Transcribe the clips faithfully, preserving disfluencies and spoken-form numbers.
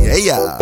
Eia.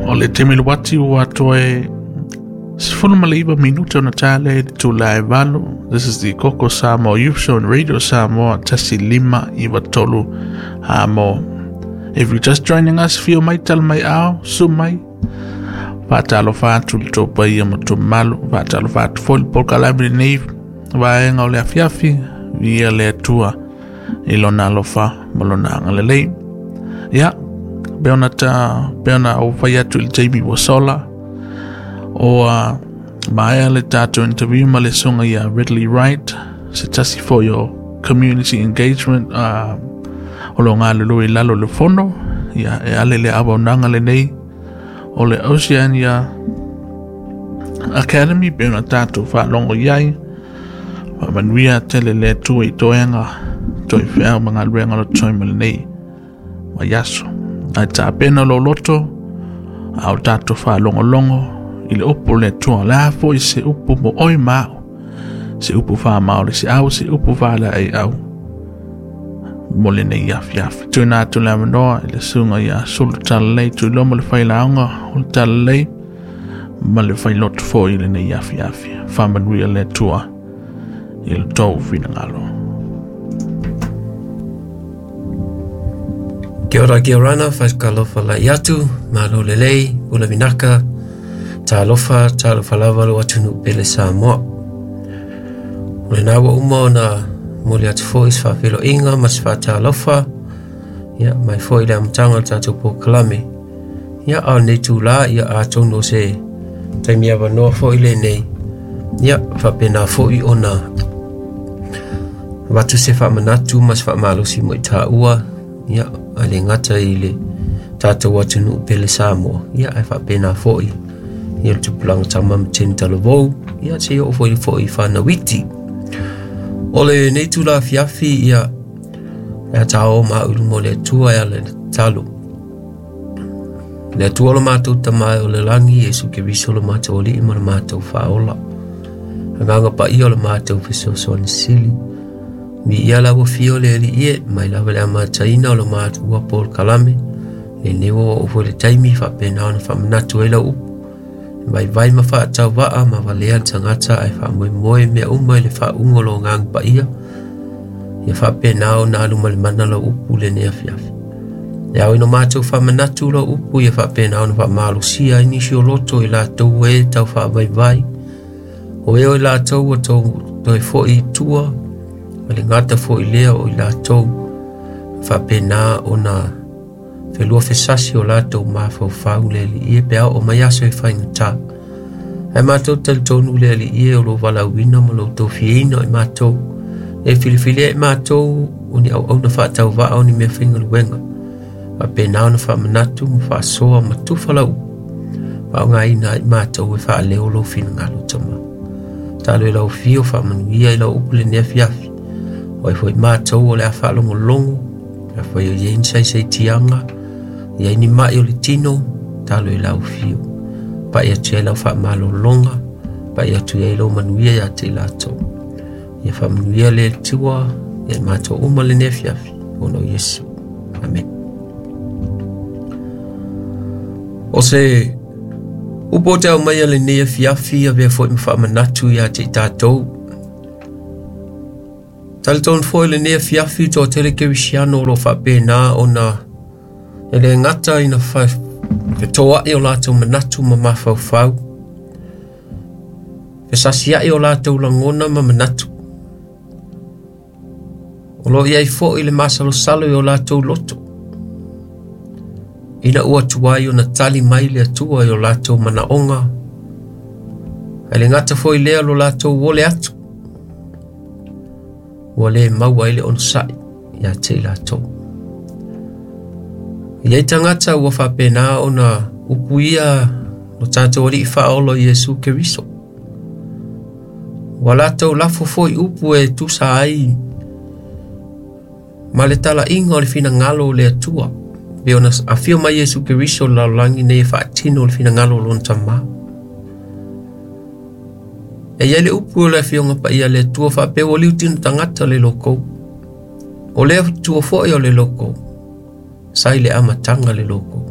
O le taimi le wati ua toe sefulu ma le iwa minute ona tale i le tula e valu. This is the Koko Samoa Youth Show on Radio Samoa tasi lima iwa tolu Samoa. If you're just joining us, fio mai tal mai ao, su mai. Whaatalofa atu le tō paia ma tō malu. Whaatalofa atu foi le polokalame lenei vaega o le afiafi, via le Atua i lona alofa ma lona agalelei. Ia, pe ona ta, pe ona au whai atu i le taimi ua sola, o uh, maea le tātou interview ma le songa ia Ridley Wright, se tasi for your community engagement, uh, o lo ngā lulu i lalo le fono, ia e ale le awa unanga le nei, o le Oceania Academy, pe ona tātou whaalongo iai, wha manuia tele le Atua i toenga, toi whiau ma ngā luenga lo toi ma le nei, ma iaso. Ai tā pena lo loto, au tātou whaalongolongo, i le upu le Atua la fo i se upu mo oi mao, se upu wha mao le se au, se upu wha le ai au, mo le nei afi afi. Tūna atu le amanoa i le sunga ia sulu talalei, tū lomo le whailaonga o le talalei, ma le whailoto fo i le nei afi afi. Whamanuia le Atua i le tō whinangalo. Kia ora, kia orana, whaikalofa lai atu, malo lelei, ula vinaka, tālofa, tālofa lava lo atunu pele Samoa. O le nā ua uma ona moli atu foi se whawheloinga ma se whātālofa, ia, mai foi le amataga o le tātou polokalame. Ia, a o nei tūlā, ia atonu o se taimi avanoa foi lenei. Ia, whapena foi ona watu se whamanatu ma se whamalosi mo i tāua, ia, a le ngata i le tātou atunu pele Samoa. Ia, ai whapena foi ia le tupulaga tama ma tini talavou, ia se o foi foi whanawiti. O le nei tūla afiafi, ia, e tā o mā ulu mo le Atua e ale le talo. Le Atua o le mātou tamae o le langi, Iesu Keriso le mātou alii ma le mātou whaola. Anganga pa ia o le mātou fesoasoani sili. Mi ia la ua fio le ali ie, mai lava le amataina o le mātou ua polokalame. Le newa o foi le taimi whapena ona whamanatu e lau upu. Mai vai ma whaatau waa ma walea le tangata ai whaamoemoe mea uma i le whaungo lo ngang pa ia. Ia whapena ona alu ma le mana lo upu le nea fiafi. E au ino mātou whamanatu lo upu ia whapena ona whaamalosia ai nisi o loto i lātou e tau whaavaivai. O e o i lātou o tau toi foi i tua, ma le ngata foi lea o i lātou. Whapena ona whelua whesasi o lātou mawhauwhau le ali ie pe au o mai aso e whaingata. Ai mātou talitonu le ali ie o lo walauina ma lo tōwhieina i mātou. E whiliwhilia i mātou o ni au auna whaatau waa o ni mea whaingaluenga. Whapena ona whamanatu ma whaasoa ma tuwhalau. Whaongaina i mātou e whaaleo lo whinangalo tama. Talo e lau whio whaamanuia i lau upu le nea fiafi. O e foi mātou o le a whaalongolongo. A whai o ien sai sai tianga. Ia ni mai o le tino, talo i lau whio. Pai atu ai lau whaamalolonga, pai atu ai lau manuia ia te lātou. Ia whaamanuia le tua, ia mātou uma le nea fiafi, o no Iesu. Amen. O se upo te au mai a le nea fiafi, a vea foi ma whaamanatu ia te tātou. Talitonu foi le nea fiafi tō tele kerisiano o lo whapena ona e le ngata ina whetoa i o lātou manatu ma mawhauwhau. Whesasi ai o lātou langona ma manatu. O lo iai fo i le masalosalo i o lātou loto. Ina ua tuai o na tali mai le atua i o lātou manaonga. E le ngata foi lea lo lātou ole atu. Ua le maua i le onosai ia te i lātou. Ia i tangata ua whapena ona upuia o tātou alii whaolo Iesu Keriso. Ua lātou lafo foi upu e tusa ai ma le tala inga o le whinangalo o le atua. Pe ona awhio mai Iesu Keriso lalaulangi nei e whaatino o le whinangalo o lona tamā. E ia le upu o le afioga paia le Atua faapea ua liutino tagata le lokou. O le atua fo'i o le lokou, sa i le amataga le lokou.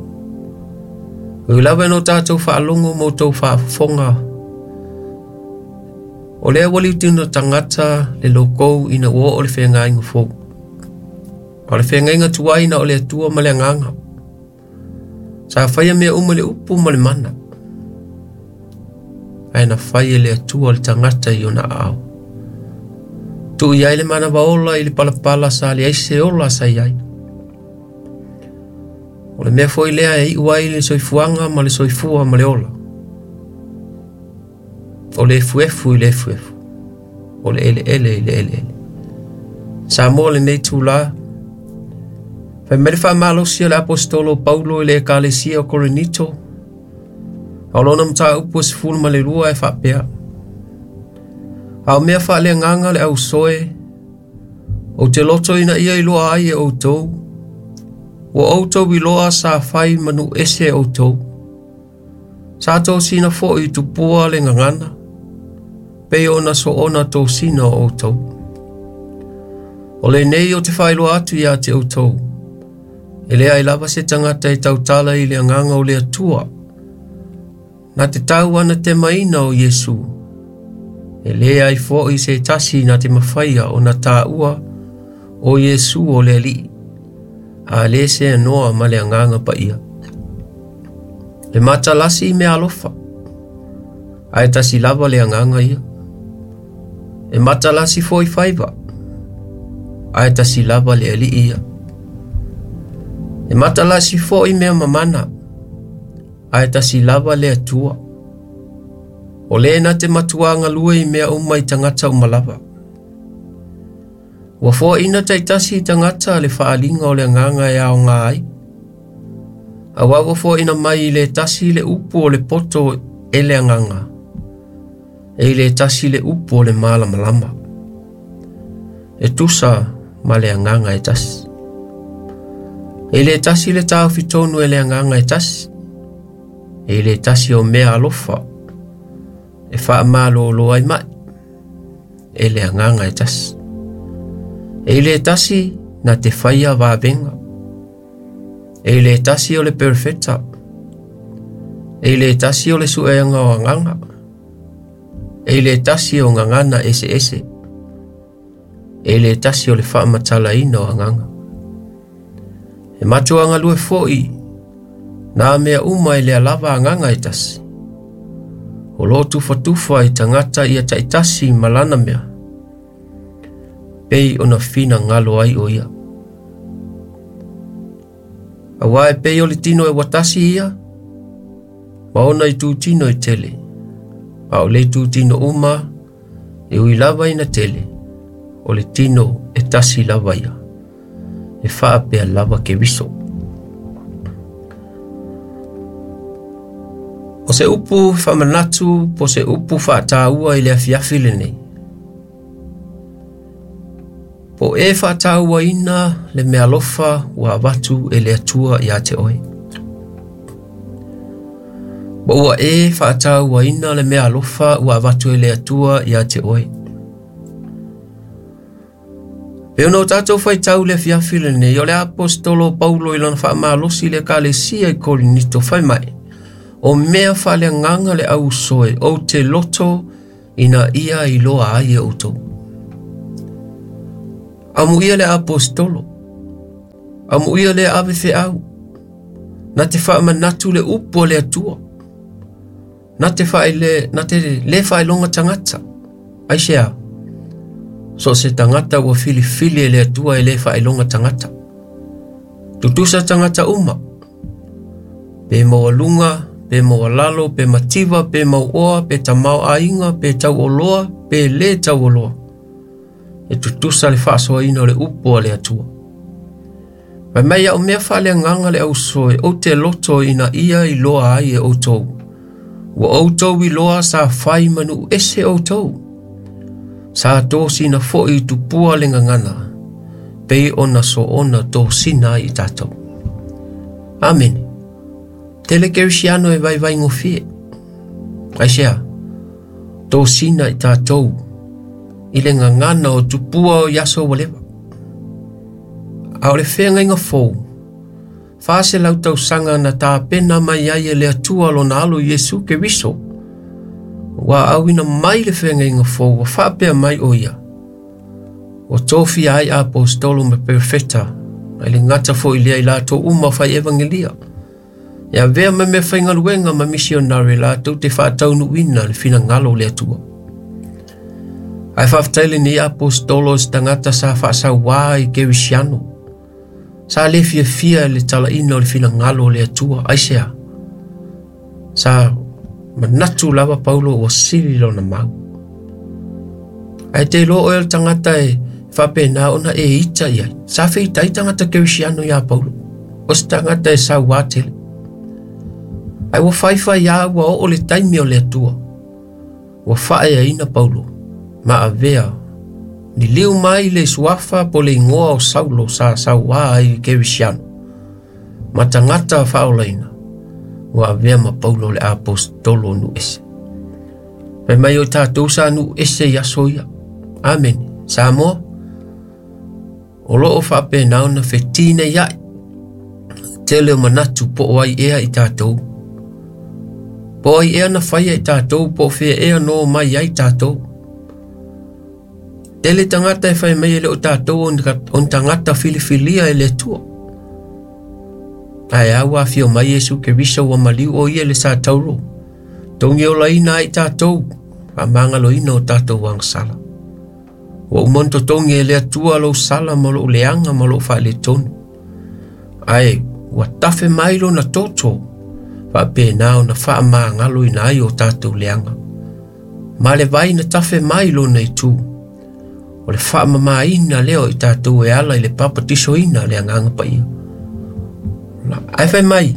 Ui lava e no tatou faalogo ma outou faafofoga, o lea ua liutino tagata le lokou ina ua oo le feagaiga fou. O le feagaiga tuai na o le Atua ma le agaga. Sa faia mea uma le upu ma le mana, ae na fai e le Atua le tagata i ona aao. Tuu i ai le manava ola i le palapala sa leai se ola sa i ai. O le mea foi lea e iu ai le soifuaga ma le soifua ma le ola. O le efuefu i le efuefu, o le eleele i le eleele. Samoa lenei tula, fai mai le faamalosi a le Aposetolo Paulo i le Ekalesia o Korinito, a o lona mataupu e sefulu ma le lua e faapea: A o mea faaleagaga le ausoe, ou te loto ina ia iloa ai e outou, ua outou iloa sa fai manu ese outou. Sa tosina fo'i i tupua le gagana, pei ona soona tosina o outou. O lenei o te faailoa atu ia te outou, e leai lava se tagata e tautala i le agaga o le Atua, na te tau ana temaina o Iesu. E leai fo'i se tasi na te mafaia o na tāua o Iesu o le Alii, a le se anoa ma le agaga paia. Le matalasi i mea alofa, ae tasi lava le agaga ia. E matalasi foi faiva, ae tasi lava le Alii ia. E matalasi foi mea mamana, ae tasi lava le Atua. O le na te matuaga lue i mea uma i tagata uma lava. Ua foaina taitasi i tagata le faaliga o le agaga e aoga ai. Auā ua foaina mai i le tasi le upu o le poto e le agaga, e i le tasi le upu o le malamalama. E tusa ma le agaga e tasi. E i le tasi le taofitonu e le agaga e tasi. E i le tasi o mea alofa e faamalōlō ai mai e le agaga e tasi. E i le tasi na te faia vavega. E i le tasi o le perfeta. E i le tasi o le suega o agaga. E i le tasi o gagana ese ese. E i le tasi o le faamatalaina o agaga. E matuaga lue fo'i nā mea uma e lea lava agaga e tasi. O lo tufatufa i tagata ia taitasi ma lana mea, pei ona finagalo ai o ia. Auā e pei o le tino e watasi ia, ma ona i tūtino e tele. A o le tūtino uma, e ui lava ina tele, o le tino e tasi lava ia, e faapea lava Keriso. O se upu faamanatu po se upu faataua i le afiafi lenei. Po e faatauaina le mealofa ua avatu e le Atua ia te oe. Po ua e faatauaina le mealofa ua avatu e le Atua ia te oe. Pe ona o tatou faitau le afiafi lenei, o le Aposetolo Paulo i lona faamalosi le Ekalesia i Korinito fai mai, o mea faaleagaga le ausoe, ou te loto ina ia iloa ai e outou. Amuia le apostolo, amuia le ave feau, na te faamanatu le upu o le Atua, na te faile, na te le faailoga tagata. Aisea, so se tagata ua filifili e le Atua e le faailoga tagata. Tutusa tagata uma, pe maualuga, pe maualalo, pe mativa, pe mauoa, pe tamao aiga, pe tauoloa, pe le tauoloa. E tutusa le faasoaina o le upu a le Atua. Fai mai au mea faaleagaga le ausoe, ou te loto ina ia iloa ai e outou. Ua outou iloa sa fai manu ese outou. Sa tosina fo'i i tupua le gagana, pei ona soona tosina ai i tatou. Amene. Tele kerisiano e vaivaigofie. Aisea, Tosina i tātou i le gagana o tupua o i aso ua leva. A o le feagaiga fou, faselau tausaga na tapena mai ai e le Atua lona alo Iesu Keriso, ua auina mai le feagaiga fou ua faapea mai o ia. Ua tofia ai apostolo ma perofeta, ai le gata fo'i lea i latou uma fai evangelia. E avea ma mea faigaluega ma misionare latou te faataunuuina le finagalo o le Atua. Ae faafetai lenei apostolo i se tagata sa faasauā i Kerisiano. Sa le fiafia i le talaina o le finagalo o le Atua. Aisea? Sa manatu lava Paulo ua sili lona mau. Ae te iloa oe o le tagata e faapena ona e ita i ai. Sa feitai tagata Kerisiano iā Paulo. O se tagata e sauā tele. Ae ua faifai lava ua oo le taimi o le Atua. Ua faaeaina Paulo ma avea liliu mai le suafa po le igoa o Saulo sa sauā ai i Kerisiano ma tagata faaolaina. Ua avea ma Paulo le apostolo o nuu ese. Fai mai o tatou sa nuu ese i aso ia. Amene. Samoa, o loo faapena ona fetineiai tele o manatu po o ai ea i tatou. Po o ai ea na faia i tatou, po o fea ea no mai ai tatou. Tele tagata e fai mai e le o tatou o ni tagata filifilia e le Atua. Ae a ua afio mai Iesu Keriso ua maliu o ia i le sa tauro. Togi olaina ai tatou, faamagaloina o tatou agasala. Ua uma ona totogi e le Atua lou sala ma lou leaga ma lou faaletonu. Ae ua tafe mai lona toto, faapena ona faamagaloina ai o tatou leaga. Ma le vai na tafe mai lona itu, o le faamamaina lea o i tatou e ala i le papatisoina le Agaga Paia. Ae fai mai,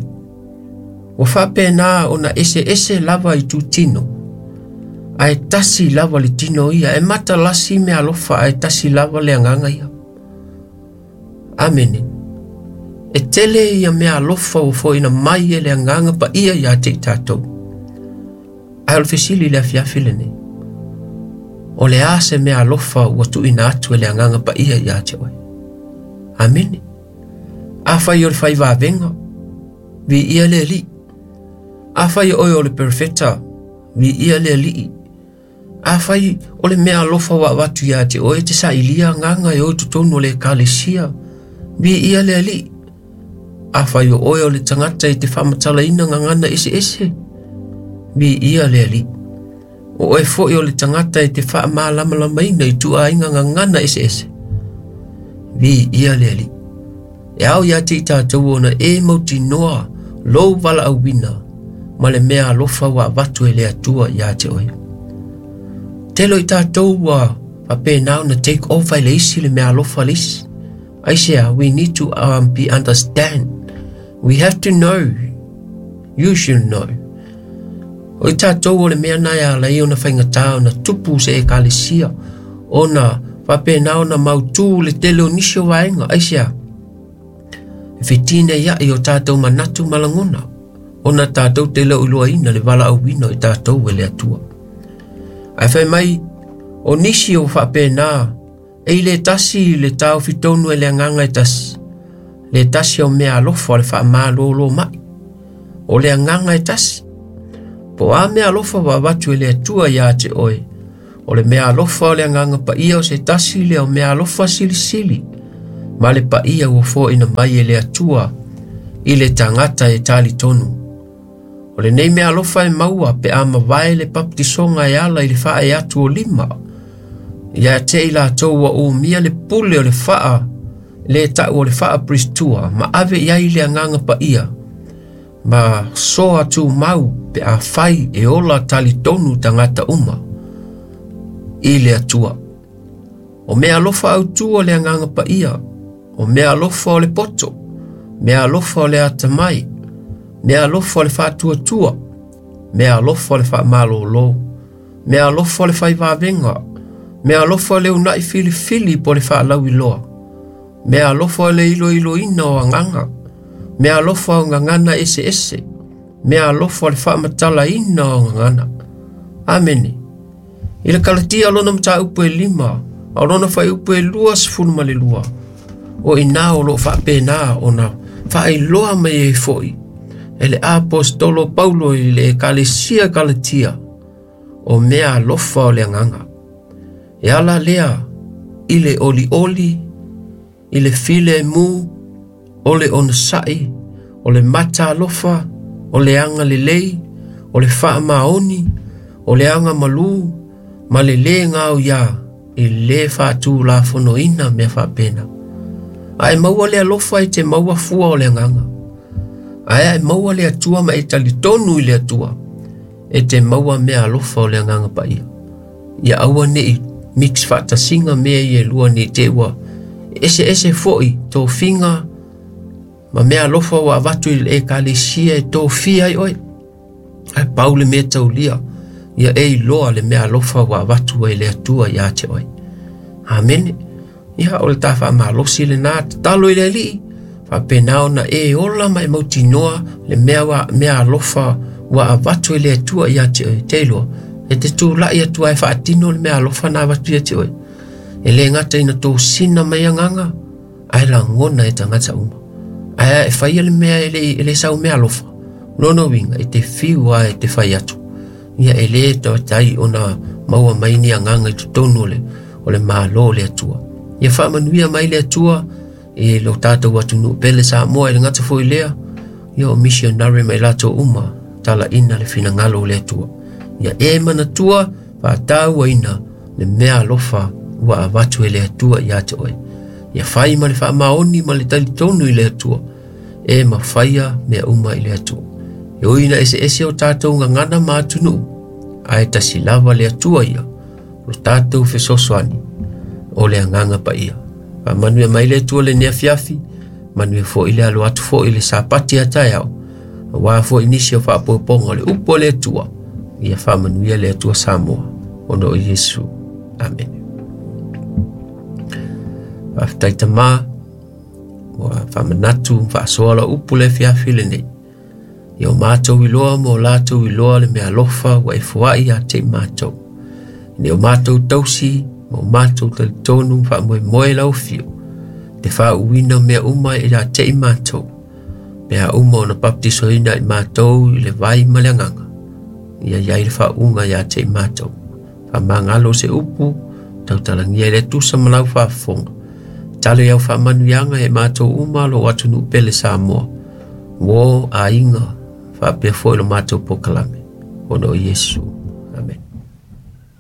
ua faapena ona eseese lava i tutino, ae tasi lava le tino ia, e matalasi mea alofa ae tasi lava le agaga ia. Amene. E tele ia mea alofa ua fo'ina mai e le Agaga Paia iā te i tatou. Ae o le fesili i le afiafi lenei, o le a se mea alofa ua tuuina atu e le Agaga Paia iā te oe? Amene. Afai o le fai vavega, viia le Alii. Afai oe o le perofeta, viia le Alii. Afai o le mea alofa ua avatu iā te oe e te sailia agaga e o i totonu o le ekalesia, viia le Alii. Afai o oe o le tagata e te faamatalaina gagana eseese, viia le Alii. O oe fo'i o le tagata e te faamalamalamaina i tuuaiga gagana eseese, viia le Alii. E ao iā te i tatou ona e mautinoa lou valaauina ma le mea alofa ua avatu e le Atua iā te oe. Tele o i tatou ua faapena ona take over i le isi le mea alofa le isi. Aisea? We need to um, be understand. We have to know. You should know. O i tatou o le mea na e ala ai ona faigata ona tupu se ekalesia, ona faapena ona mautū le tele o nisi o vaega. Aisea? E fetineiai o tatou manatu ma lagona, ona tatou te le o iloaina le valaauina o i tatou e le Atua. Ae fai mai, o nisi o faapena, e i le tasi le taofi tonu e le agaga e tasi, le tasi o mea alofa o le faamalōlō mai, o le agaga e tasi. Po o a mea alofa ua avatu e le Atua iā te oe, o le mea alofa o le Agaga Paia o se tasi lea o mea alofa silisili, ma le paia ua fo'ina mai e le Atua i le tagata e talitonu. O lenei mea alofa e maua pe a mavae le papatisoga e ala i le faaee atu o lima, iā te i latou ua umia le pule o le faa le ta'u o le faaperistua ma ave i ai le Agaga Paia ma soa tumau pe afai e ola talitonu tagata uma i le Atua. O mea alofa autū o le Agaga Paia, o mea alofa o le poto, mea alofa o le atamai, mea alofa o le faatuatua, mea alofa o le faamalōlō, mea alofa o le fai vavega, mea alofa o le una'i filifili po o le faalauiloa, mea alofa o le iloiloina o agaga, mea alofa o gagana eseese, mea alofa o le faamatalaina o gagana. Amene. I le Kalatia lona mataupu e lima, a lona fuaiupu e lua sefulu ma le lua. O ina o loo faapena ona faailoa mai ai foi e le apostolo Paulo i le ekalesia Kalatia o mea alofa o le agaga. E ala lea i le olioli, i le filemu, o le onosai, o le mata alofa, o le aga lelei, o le faamaoni, o le aga malu, ma le lē gao ia i lē faatulafonoina mea faapena. Ae maua le alofa e te maua fua o le agaga. Ae ae maua le Atua ma e talitonu i le Atua, e te maua mea alofa o le agaga paia. Ia aua nei mix faatasiga mea ia e lua nei te ua ese ese foi tofiga ma mea alofa ua avatu i le ekalesia e tofia ai oe. Ae pau le mea taulia, ia e iloa le mea alofa ua avatu ai le Atua ia te oe. Amene. Ia o le ta faamalosi lenā tatalo i le Alii, faapena ona e ola ma e mautinoa le mea, wa, mea alofa ua avatu i le Atua ia te oe. Te iloa, e te tula'i atu ai faatino le mea alofa na avatu ia te oe. E le gata ina tosina mai agaga, ae lagona e tagata uma. Ae e faia le mea e le, e le sau mea alofa. Lona uiga, e te fiu a e te fai atu. Ia e le tautai ona maua mai ni agaga i totonu o le, o le malo o le Atua. Ia faamanuia mai le Atua e lo tatou atunuu pele Samoa e le gata foi lea, ia o missionary mai latou uma talaina le finagalo o le Atua. Ia e manatua faatauaina le mea alofa ua avatu e le Atua ia te oe. Ia fai ma le faamaoni ma le talitonu i le Atua, e mafaia mea uma i le Atua. E ui ina eseese o tatou gagana ma atunuu, ae tasi lava le Atua ia, o tatou fesoasoani o le agaga paia. Faamanuia mai le Atua lenei afiafi, manuia foi le alo atu foi i le sapati a taeao, auā foi nisi o faapopoga o le upu o le Atua. Ia faamanuia le Atua Samoa, ona o Iesu. Amene. Faafetai Tamā, ua faamanatu faasoa lau upu le afiafi lenei. Ia o matou iloa ma o latou iloa le mea alofa ua e foai ia te i matou. Ina o matou tausi ma o matou talitonu faamoemoe lau afio, te faauuina mea uma ia te i matou. Mea uma ona baptisoina i matou i le vai ma le agaga. Ia iai le faauuga ia te i matou. Faamagalo se upu, tautalagia i le tusa ma lau faafofoga. Talo iau faamanuiaga e matou uma lo atunuu pele Samoa. Mo aiga faapea foi lo matou pokalame. Ona o Iesu. Amen.